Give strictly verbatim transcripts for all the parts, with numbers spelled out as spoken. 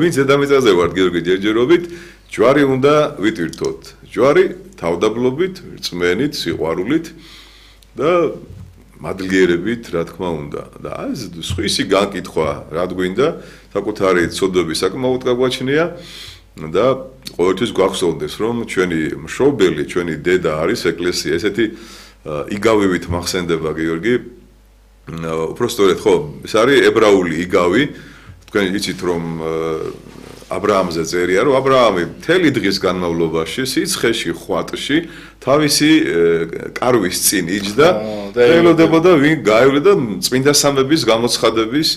ვინც დედამიწაზე ვართ გიორგი ჯერჯერობით, ჯვარი უნდა ვიტვირთოთ. ჯვარი თავდაბლობით, რწმენით, სიყვარულით და მადლიერებით, რა თქმა უნდა. და ეს სხვისი განკითხვა, რა გვინდა, საკუთარი ცოდვები საკმაოდ გაგვაჩნია და ყოველთვის გვახსოვდეს, რომ ჩვენი მშობელი, ჩვენი დედა არის ეკლესია, ესეთი იგავივით მახსენდება გიორგი. უბრალოდ ხო, ეს არის ებრაული იგავი. თქვენ იცით რომ აბრაამზე წერია რომ აბრაამი მთელი დღის განმავლობაში სიცხეში ხვატში თავისი კარვის წინ იჯდა და ელოდებოდა ვინ გაივლე და წმინდა სამების გამოცხადების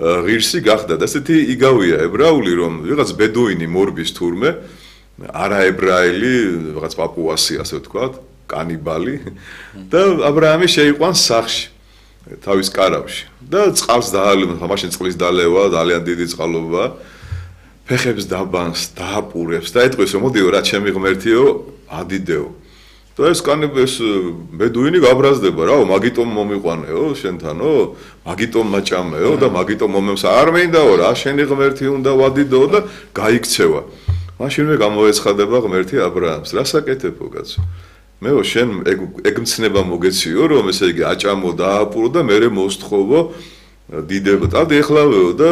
ღირსი გახდა და ესეთი იგავია ებრაული რომ ვიღაც ბედუინი მორბის თურმე არაებრაელი ვიღაც პაპუასი ასე ვთქვათ კანიბალი და აბრაამი შეიყვანს სახლში თავის კარავში და წყალს დაალევს, მაშინ წყლის დალევა, ძალიან დიდი წყალობა, ფეხებს დაბანს, დააპურებს და ეტყვის რომ მოდიო რა ჩემი ღმერთიო, ადიდეო. და ეს კანიბეს ბედუინი გაბრაზდება რაო, მაგიტომ მომიყვანეო შენთანო, მაგიტომ მაჭამეო და მაგიტომ მომემს არ მინდაო რა, შენი ღმერთი უნდა ვადიდო და გაიქცევა. მაშინვე გამოეცხადება ღმერთი აბრაამს, რა საკეთებო კაცო? მეო შენ ეგ მცნება მოგეციო რომ ესე იგი აჭამო დააპურო და მე მოსთხოვო დიდება და ეხლავეო და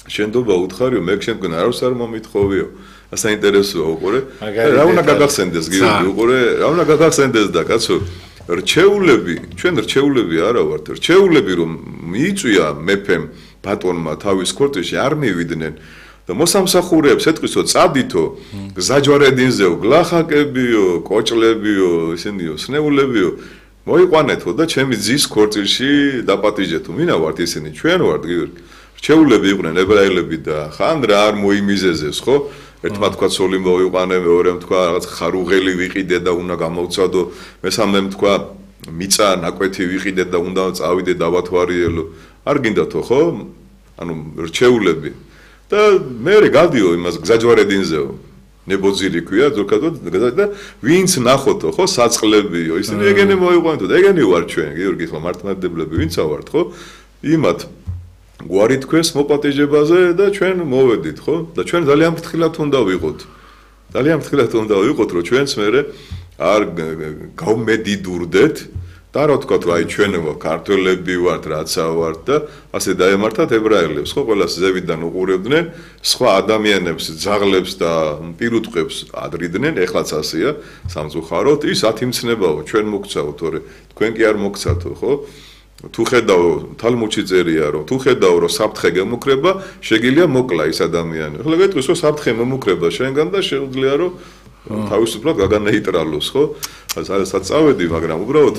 შენდობა უთხარიო მე შენგან არავს არ მომითხოვიო ასაინტერესოა უყურე რა უნდა გაგახსენდეს გიორგი უყურე რა უნდა გაგახსენდეს და კაცო რჩეულები ჩვენ რჩეულები არა ვართ რჩეულები რომ მიიწვია მეფემ ბატონმა თავის ქორწილში არ მივიდნენ და მოსამსახურეებს ეთქვისო წადითო გზაჯვარედინზეო გლახაკებიო კოჭლებიო ისინიო სნეულებიო მოიყვანეთო და ჩემი ძის ქორწილში დაპატიჟეთო მინა ვართ ისინი ჩვენ ვართ გიორგი რჩეულები იყვნენ ებრაელები და ხან რა არ მოიმიზეზეს ხო ერთმა თქვა ცოლი მოიყვანე მეორემ თქვა რაღაც ხარუღელი ვიყიდე და უნდა გამოვცადო მესამემ თქვა მიწა ნაკვეთი ვიყიდე და უნდა წავიდე დავათვარიელო არ გინდათო ხო ანუ რჩეულები და მე გადიო იმას გზაჯვარედინზეო ნებოძირი ქვია ზოგადად და ვინც ნახოთო ხო საწყლებიო ისინი ეგენი მოიყვანეთო და ეგენი ვარ ჩვენ გიორგი ხო მართლმადიდებლები ვინცა ვართ ხო იმათ გვარი თქვენს მოპატიჟებაზე და ჩვენ მოვედით ხო და ჩვენ ძალიან ფრთხილად უნდა ვიყოთ ძალიან ფრთხილად უნდა ვიყოთ რომ ჩვენც მე არ გავმედიდურდეთ და რა თქვა თუ აი ჩვენ ქართველები ვართ რაცა ვართ და ასე დაემართათ ებრაელებს ხო ყველას ზევიდან უყურებდნენ სხვა ადამიანებს ძაღლებს და პირუტყვებს ადრიდნენ ეხლაც ასეა სამწუხაროდ ის ათიმცნებაო ჩვენ მოგცაო თორე თქვენ კი არ მოგცათო ხო თუ ხედავ თალმუდში წერია რომ თუ ხედავ რომ საფრთხე გემუქრება შეგიძლია მოკლა ის ადამიანი ახლა გეტყვის რომ საფრთხე მომუქრება შენგან და შეუძლია რომ თავისუფლად გაგანეიტრალოს ხო სადაც წავედი მაგრამ უბრალოდ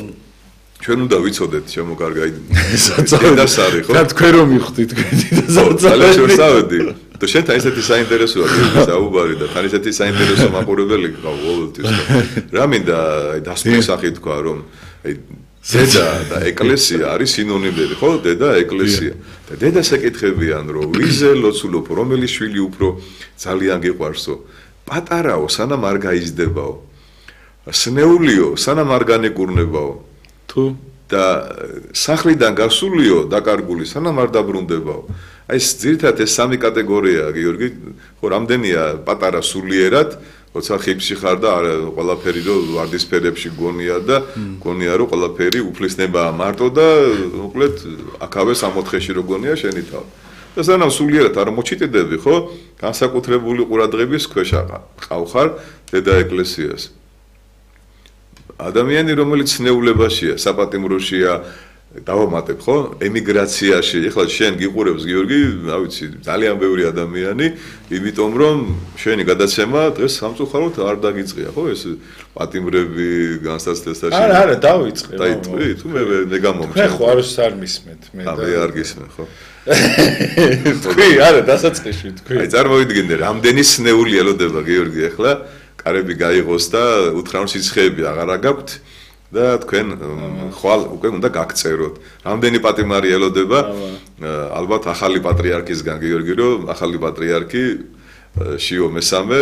ჩვენ უნდა ვიცოდეთ ჩემო კარგა დედას არის ხო? და თქვენ რომ მიხვდით თქვენ დედას ძალიან შევსავედი. და შენთან ესეთი საინტერესოა გიორგი საუბარი და თან ესეთი საინტერესო მაყურებელი გყავ ყოველთვის. რა მინდა აი დასკვნის სახით თქვა რომ აი დედა და ეკლესია არის სინონიმები ხო? დედა ეკლესია. და დედას ეკითხებიან რომ ვიზე ლოცულობ რომელი შვილი უფრო ძალიან გიყვარსო? პატარაო სანამ არ გაიზრდებაო. სნეულიო სანამ არ განეკურნებაო. თუ და სახლიდან გასულიო დაკარგული სანამ არ დაბრუნდებაო. აი ეს ძირითადად ეს სამი კატეგორიაა გიორგი, ხო რამდენია პატარა სულიერად, როცა ხიფში ხარ და ყველაფერი რო ვარდისფერებში გონია და გონია რომ ყველაფერი უფლისნებაა მარტო და უკლედ აქავე სამოთხეში რო გონია შენი თავი. და სანამ სულიერად არ მოჩიტდები, ხო? განსაკუთრებული ყურადღების ქვეშ ყავხარ დედა ეკლესიას. ადამიანი რომელიც ნეულებაშია, საპატიმროშია, დავამატებ ხო? ემიგრაციაში, ეხლა შენ გიყურებს გიორგი, რა ვიცი, ძალიან ბევრი ადამიანი, იმიტომ რომ შენი გადაცემა დღეს სამწუხაროდ არ დაგიწყია, ხო? ეს პატიმრები განსაცდელსაში. არა, არა, დავიწყე. დაიტყვი, თუ მე მე გამომჩნდა. მე ხო არს არ მისმენთ, მე და მე არ გისმენ, ხო? თქვი, არა, დასაწყისში თქვი. აი, წარმოვიდგინე, რამდენი სნეული ელოდება გიორგი ახლა კარები გაიღოს და უთხრა რომ სიცხეები აღარა გაქვთ და თქვენ ხვალ უკვე უნდა გაგწეროთ. რამდენი პატიმარი ელოდება? ალბათ ახალი პატრიარქისგან გიორგი რომ ახალი პატრიარქი შიო მესამე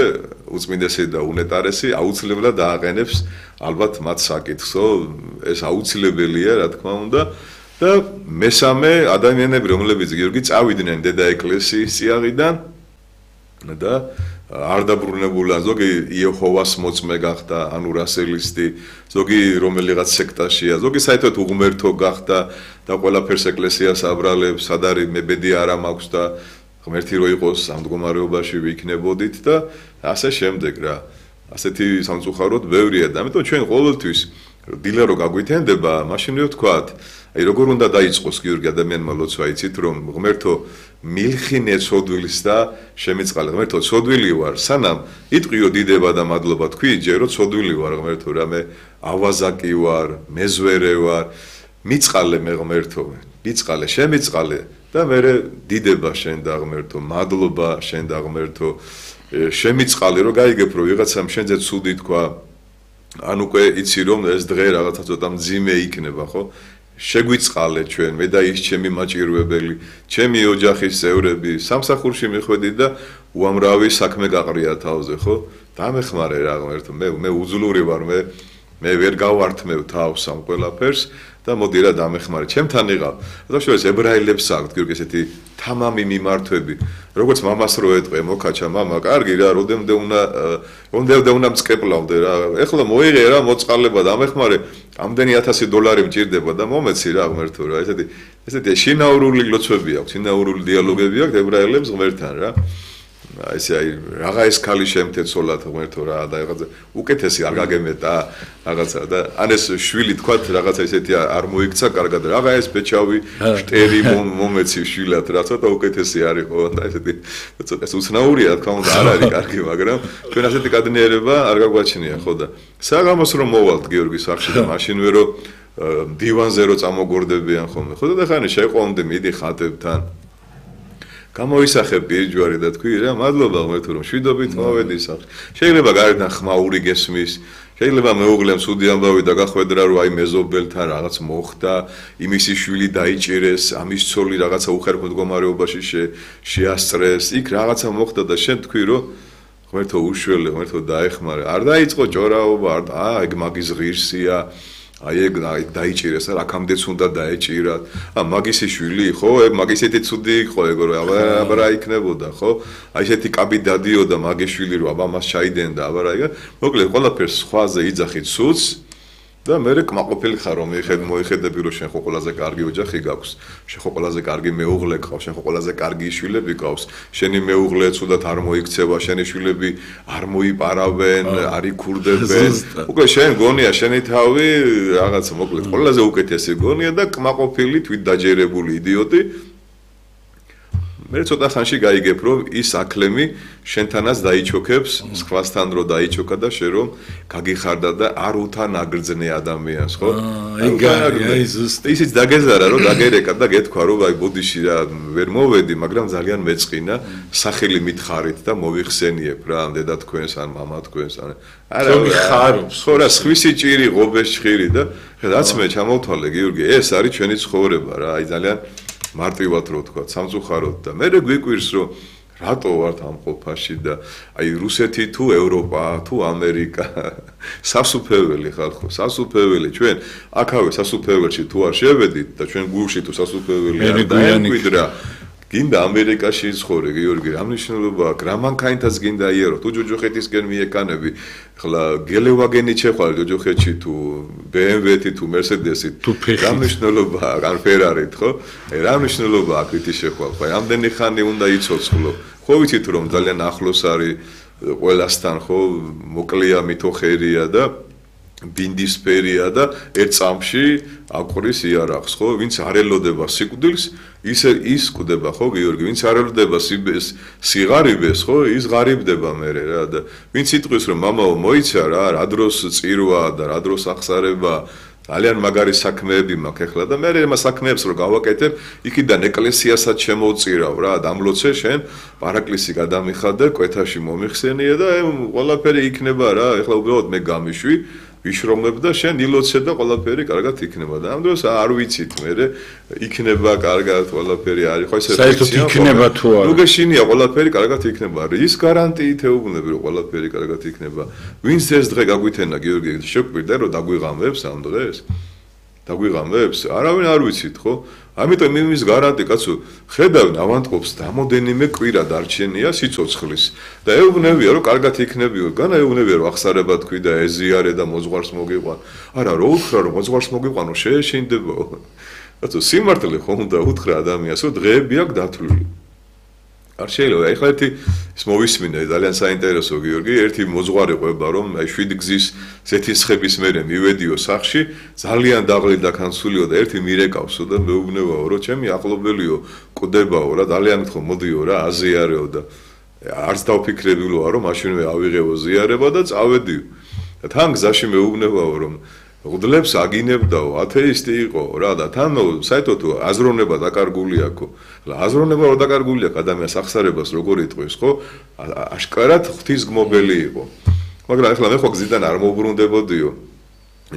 უწმინდესი და უნეტარესი აუცილებლად დააყენებს ალბათ მათ საკითხსო ეს აუცილებელია რა თქმა უნდა და მესამე ადამიანები რომლებიც გიორგი წავიდნენ დედა ეკლესიის წიაღიდან და არ დაბრუნებულა ზოგი იეჰოვას მოწმე გახდა, ანუ რასელისტი, ზოგი რომელიღაც სექტაშია, ზოგი საერთოდ უღმერთო გახდა და ყველაფერს ეკლესიას აბრალებს, სად არის მებედი არა მაქვს და ღმერთი რო იყოს ამ მდგომარეობაში ვიქნებოდით და ასე შემდეგ რა. ასეთი სამწუხაროდ ბევრია და ამიტომ ჩვენ ყოველთვის დილა რო გაგვითენდება, მაშინ მე ვთქვათ, აი როგორ უნდა დაიწყოს გიორგი ადამიანმა ლოცვა, იცით რომ ღმერთო მილხინე ცოდვილს და შემიწყალე ღმერთო ცოდვილი ვარ, სანამ იტყვიო დიდება და მადლობა თქვი, ჯერო ცოდვილი ვარ ღმერთო, რამე ავაზაკი ვარ, მეზვერე ვარ, მიწყალე მე ღმერთო, მიწყალე, შემიწყალე და მე დიდება შენ და ღმერთო, მადლობა შენ და ღმერთო, შემიწყალე რომ გაიგებ რომ ვიღაცამ შენზე ცუდი თქვა, ან უკვე იცი რომ ეს დღე რაღაცა ცოტა მძიმე იქნება, ხო? შეგვიწყალე ჩვენ, მე და ის ჩემი მაჭირვებელი, ჩემი ოჯახის წევრები, სამსახურში მიხვედი და უამრავი საქმე გაყრია თავზე, ხო? დამეხმარე რა ღმერთო, მე მე უძლური ვარ, მე მე ვერ გავართმევ თავს ამ ყველაფერს და მოდი რა დამეხმარე, ჩემთან იყავ. და შორის ებრაელებს აქვთ გიორგი ესეთი თამამი მიმართვები, როგორც მამას რო ეტყვე, მოკაჩა მამა, კარგი რა, როდემდე უნდა როდემდე უნდა მწყეპლავდე რა. ეხლა მოიღე რა მოწყალება დამეხმარე, ამდენი ათასი დოლარი მჭირდება და მომეცი რა ღმერთო რა. ესეთი ესეთი შინაურული ლოცვები აქვს, შინაურული დიალოგები აქვს ებრაელებს ღმერთთან რა. აი ესე აი რაღა ეს ქალი შემთეცოლათ ღმერთო რა და რაღაცა უკეთესი არ გაგემეტა რაღაცა და ან ეს შვილი თქვათ რაღაცა ესეთი არ მოიქცა კარგად რაღა ეს ბეჭავი შტერი მომეცი შვილად რა ცოტა უკეთესი არისო და ესეთი ცოტა უცნაურია თქმა უნდა არ არის კარგი მაგრამ ჩვენ ასეთი კადნიერება არ გაგვაჩნია ხო და საღამოს რომ მოვალთ გიორგის სახში და მაშინ ვერო დივანზე რო წამოგორდებიან ხოლმე ხო და ხანი შეყვამდე მიდი ხატებთან გამოისახებ პირჯვარი და თქვი რა მადლობა ღმერთო რომ შვიდობით მოვედი სახში შეიძლება გარედან ხმაური გესმის შეიძლება მეუღლემ სუდი ამბავი და გახვედრა რომ აი მეზობელთან რაღაც მოხდა იმისი შვილი დაიჭირეს ამის ცოლი რაღაცა უხერხო მდგომარეობაში შეასწრეს იქ რაღაცა მოხდა და შენ თქვი რომ ღმერთო უშველე ღმერთო დაეხმარე არ დაიწყო ჭორაობა არ აა ეგ მაგის ღირსია აი ეგ დაიჭირეს რა აქამდეც უნდა დაეჭირათ ა მაგისი შვილი ხო ეგ მაგისეთი ცუდი იყო ეგ რომ აბა რა იქნებოდა ხო აი ესეთი კაბი დადიოდა მაგის შვილი რომ აბა მას ჩაიდენდა აბა რა ეგ მოკლედ ყველაფერს სხვაზე იძახით სულს და მე კმაყოფილი ხარ რომ მიხედ მოიხედები რომ შენ ხო ყველაზე კარგი ოჯახი გაქვს შენ ხო ყველაზე კარგი მეუღლე გყავს შენ ხო ყველაზე კარგი შვილები გყავს შენი მეუღლე ცუდად არ მოიქცევა შენი შვილები არ მოიპარავენ არ იქურდებენ უკვე შენ გონია შენი თავი რაღაც მოკლედ ყველაზე უკეთესი გონია და კმაყოფილი თვით დაჯერებული იდიოტი მე ცოტა ხანში გაიგებ რომ ის აკლემი შენთანაც დაიჩოქებს სხვასთან რო დაიჩოქა და შენ რომ გაგიხარდა და არ უთან აგრძნე ადამიანს ხო აი ზუსტი ისიც დაგეზარა რომ დაგერეკა და გეთქვა რომ აი ბოდიში რა ვერ მოვედი მაგრამ ძალიან მეწყინა სახელი მითხარით და მოვიხსენიებ რა დედა თქვენს ან მამა თქვენს ან არა ხარობს ხო რა სხვისი ჭირი ღობეს ჭხირი და რაც მე ჩამოვთვალე გიორგი ეს არის ჩვენი ცხოვრება რა აი ძალიან მარტივად რო თქვა, სამწუხაროდ და მე გვიკვირს რომ რატო ვართ ამ ყოფაში და აი რუსეთი თუ ევროპა თუ ამერიკა სასუფეველი ხალხო, სასუფეველი ჩვენ აქავე სასუფეველში თუ არ შევედით და ჩვენ გულში თუ სასუფეველი არ დაემკვიდრა გინდა ამერიკაში ცხოვრე გიორგი რა მნიშვნელობა აქვს რა მანქანითაც გინდა იარო თუ ჯოჯოხეთისკენ მიეკანები ხლა გელევაგენი ჩეხვალ ჯოჯოხეთში თუ ბე ემ ვე-თი თუ მერსედესი რა მნიშვნელობა აქვს ან ფერარით ხო რა მნიშვნელობა აქვს ითი შეხვალ ხო ამდენი ხანი უნდა იცოცხლო ხო ვიცით რომ ძალიან ახლოს არის ყველასთან ხო მოკლეა მითოხერია და ბინდისფერია და ერთ წამში აყრის იარაღს ხო ვინც არ ელოდება სიკვდილს ის ის კვდება ხო გიორგი ვინც არ ელოდება სიღარიბეს ხო ის ღარიბდება მერე რა და ვინც იტყვის რომ მამაო მოიცა რა რა დროს წირვა და რა დროს ახსარება ძალიან მაგარი საქმეები მაქვს ეხლა და მე ამ საქმეებს რო გავაკეთებ იქიდან ეკლესიასაც შემოვწირავ რა დამლოცე შენ პარაკლისი გადამიხადე კვეთაში მომიხსენია და ყველაფერი იქნება რა ეხლა უბრალოდ მე გამიშვი ვიშრომებ და შენ ილოცე და ყველაფერი კარგად იქნება და ამ დროს არ ვიცით მე იქნება კარგად ყველაფერი არის ხო ესე საერთოდ იქნება თუ არა ნუ გეშინია ყველაფერი კარგად იქნება რის გარანტიით ეუბნები რომ ყველაფერი კარგად იქნება ვინც ეს დღე გაგვითენა გიორგი შეგვირდა რომ დაგვიღამებს ამ დღეს დაგვიღამებს არავინ არ ვიცით ხო ამიტომ იმის გარანტი კაცო ხედავ ავანტყოფს დამოდენიმე კვირა დარჩენია სიცოცხლის და ეუბნებია რომ კარგად იქნებიო განა ეუბნებია რომ ახსარება თქვი და ეზიარე და მოძღვარს მოგიყვან არა რო უთხრა რომ მოძღვარს მოგიყვანო შეეშინდებაო კაცო სიმართლე ხომ უნდა უთხრა ადამიანს რომ დღეები აქვს დათვლილი არ შეიძლება ეხლა ერთი ის მოვისმინე ძალიან საინტერესო გიორგი ერთი მოძღვარი ყვება რომ აი შვიდი გზის ზეთისხების მერე მივედიო სახში ძალიან დაღლილი და კანსულიო და ერთი მირეკავსო და მეუბნებაო რომ ჩემი ახლობელიო კვდებაო რა ძალიან მითხო მოდიო რა აზიარეო და არც დავფიქრებულოა რომ მაშინვე ავიღეო ზიარება და წავედიო და თან გზაში მეუბნებაო რომ უდლებს აგინებდაო ათეისტი იყო რა და თან საერთოდ აზროვნება დაკარგული აქვს ხლა აზროვნება რო დაკარგული აქვს ადამიანს ახსარებას როგორ იტყვის ხო აშკარად ღვთისგმობელი იყო მაგრამ ახლა მე ხო გზიდან არ მოუბრუნდებოდიო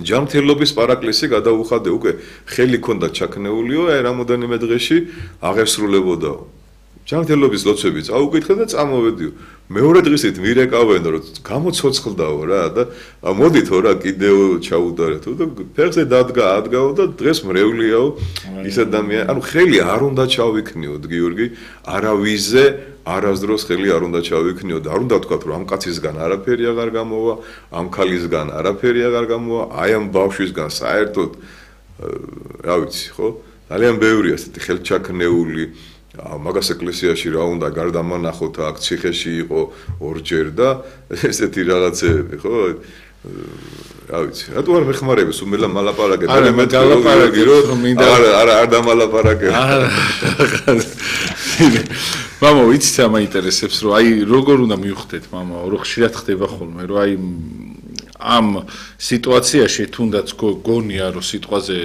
ჯანმრთელობის პარაკლისი გადაუხადე უკვე ხელი ქონდა ჩაქნეულიო აი რამოდენიმე დღეში აღესრულებოდაო ჯანმრთელობის ლოცვები წაუკითხე და წამოვედიო მეორე დღისით მირეკავენ რომ გამოცოცხლდაო რა და მოდითო რა კიდევ ჩაუდარეთო და ფეხზე დადგა ადგაო და დღეს მრევლიაო ის ადამიანი ანუ ხელი არ უნდა ჩავიქნიოთ გიორგი არავიზე არასდროს ხელი არ უნდა ჩავიქნიოთ არ უნდა თქვათ რომ ამ კაცისგან არაფერი აღარ გამოვა ამ ქალისგან არაფერი აღარ გამოვა აი ამ ბავშვისგან საერთოდ რა ვიცი ხო ძალიან ბევრია ესეთი ხელჩაქნეული მაგას ეკლესიაში რა უნდა გარდამანახოთ აქ ციხეში იყო ორჯერ და ესეთი რაღაცები ხო რა ვიცი რატო არ მეხმარები სუმელა მალაპარაკე მე მე დალაპარაკე რომ არა არა არ დამალაპარაკე მამა ვიცით რა მაინტერესებს რომ აი როგორ უნდა მივხვდეთ მამა რომ ხშირად ხდება ხოლმე რომ აი ამ სიტუაციაში თუნდაც გონია რომ სიტყვაზე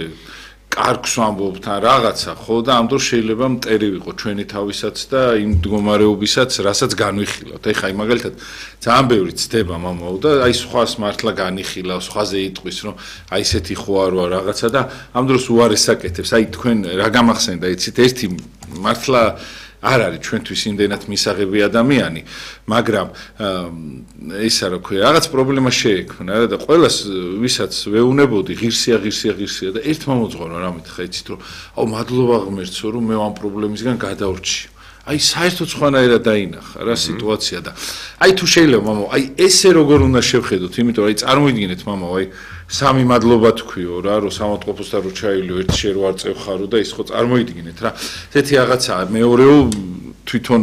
კარგს ვამბობთ ან რაღაცა ხო და ამ დროს შეიძლება მტერი ვიყო ჩვენი თავისაც და იმ მდგომარეობისაც რასაც განვიხილავთ ეხლა აი მაგალითად ძალიან ბევრი ცდება მამაო და აი სხვას მართლა განიხილავს სხვაზე იტყვის რომ აი ესეთი ხო აროა რაღაცა და ამ დროს უარეს აკეთებს აი თქვენ რა გამახსენდა იცით ერთი მართლა არ არის ჩვენთვის იმდენად მისაღები ადამიანი მაგრამ ისა რა ქვია რაღაც პრობლემა შეექმნა რა და ყველას ვისაც ვეუნებოდი ღირსია ღირსია ღირსია და ერთმა მოძღვარმა რა მითხრა იცით რომ აუ მადლობა ღმერთსო რომ მე ამ პრობლემისგან გადავრჩიო აი საერთოდ სხვანაირად დაინახა რა სიტუაცია და აი თუ შეიძლება მამო აი ესე როგორ უნდა შევხედოთ იმიტომ რომ აი წარმოიდგინეთ მამო აი სამი მადლობა თქვიო რა რომ სამოწყოფოსთან რო ჩაილიო ერთ შე რო არ წევხარო და ის ხო წარმოიდგინეთ რა ესეთი რაღაცაა მეორეო თვითონ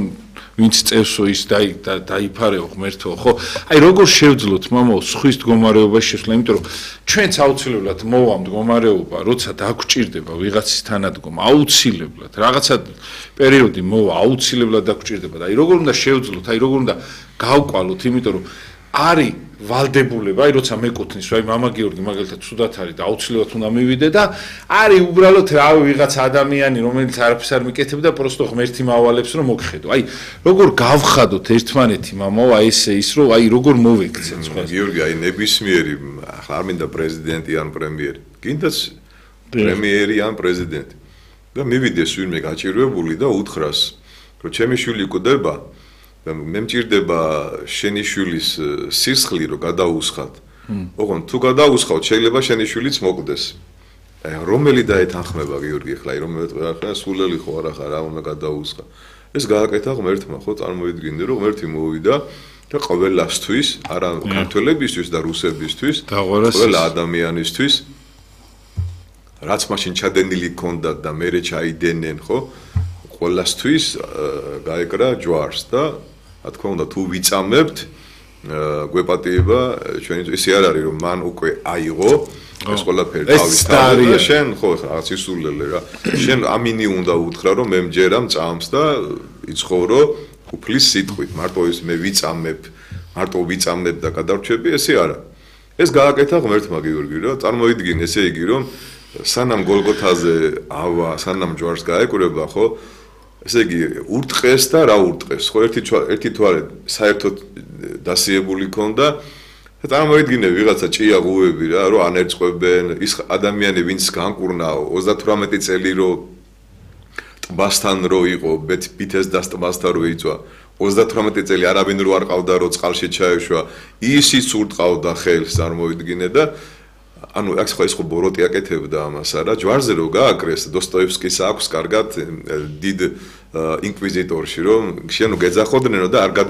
ვინც წევსო ის დაიფარეო ღმერთო ხო აი როგორ შევძლოთ მამო სხვის მდგომარეობაში შესვლა იმიტომ რომ ჩვენც აუცილებლად მოვა მდგომარეობა როცა დაგვჭირდება ვიღაცის თანადგომა აუცილებლად რაღაცა პერიოდი მოვა აუცილებლად დაგვჭირდება და აი როგორ უნდა შევძლოთ აი როგორ უნდა გავყვალოთ იმიტომ რომ არის ვალდებულება, აი როცა მეკუთვნის, აი მამა გიორგი მაგალითად ცუდად არის და აუცილებლად უნდა მივიდე და არის უბრალოდ რავი ვიღაც ადამიანი, რომელიც არაფერს არ მიკეთებდა, პროსტო ღმერთი მავალებს რომ მოგხედო. აი როგორ გავხადოთ ერთმანეთი მამაო, აი ესე ის რომ აი როგორ მოვექცეთ სხვა. გიორგი, აი ნებისმიერი, ახლა არ მინდა პრეზიდენტი ან პრემიერი, გინდაც პრემიერი ან პრეზიდენტი. და მივიდეს ვინმე გაჭირვებული და უთხრას, რომ ჩემი შვილი კვდება მე მჭირდება შენი შვილის სისხლი რომ გადაუსხათ. ოღონ თუ გადაუსხავთ შეიძლება შენი შვილიც მოკვდეს. აი რომელი დაეთანხმება გიორგი ხლა, რომელი ხლა სულელი ხო არა ხარ, რა უნდა გადაუსხა. ეს გააკეთა ღმერთმა ხო წარმოიდგინე რომ ღმერთი მოვიდა და ყველასთვის, არა ქართველებისთვის და რუსებისთვის, ყველა ადამიანისთვის რაც მაშინ ჩადენილი ქონდათ და მერე ჩაიდენენ ხო ყველასთვის გაეკრა ჯვარს და რა თქმა უნდა თუ ვიწამებთ გვეპატიება ჩვენი ისე არ არის რომ მან უკვე აიღო ეს ყველაფერი თავის თავზე და შენ ხო რაღაც ისულელე რა შენ ამინი უნდა უთხრა რომ მე მჯერა მწამს და იცხოვრო უფლის სიტყვით მარტო ის მე ვიწამებ მარტო ვიწამებ და გადარჩები ესე არა ეს გააკეთა ღმერთმა გიორგი რა წარმოიდგინე ესე იგი რომ სანამ გოლგოთაზე ავა სანამ ჯვარს გაეკვრება ხო ესე იგი ურტყეს და რა ურტყეს ხო ერთი ერთი თვარე საერთოდ დასიებული ქონდა და წარმოიდგინე ვიღაცა ჭია ღუები რა რომ ანერწყებენ ის ადამიანი ვინც განკურნა ოცდათვრამეტი წელი რო ტბასთან რო იყო ბითეს და ტბასთან რო იწვა ოცდათვრამეტი წელი არავინ რო არ ყავდა რო წყალში ჩაეშვა ისიც ურტყავდა ხელს წარმოიდგინე და ანუ აქ ხო ის ხო ბოროტი აკეთებდა ამას არა ჯვარზე რო გააკრეს დოსტოევსკის აქვს კარგად დიდ ინკვიზიტორში რომ შეანუ გეძახოდნენ და არ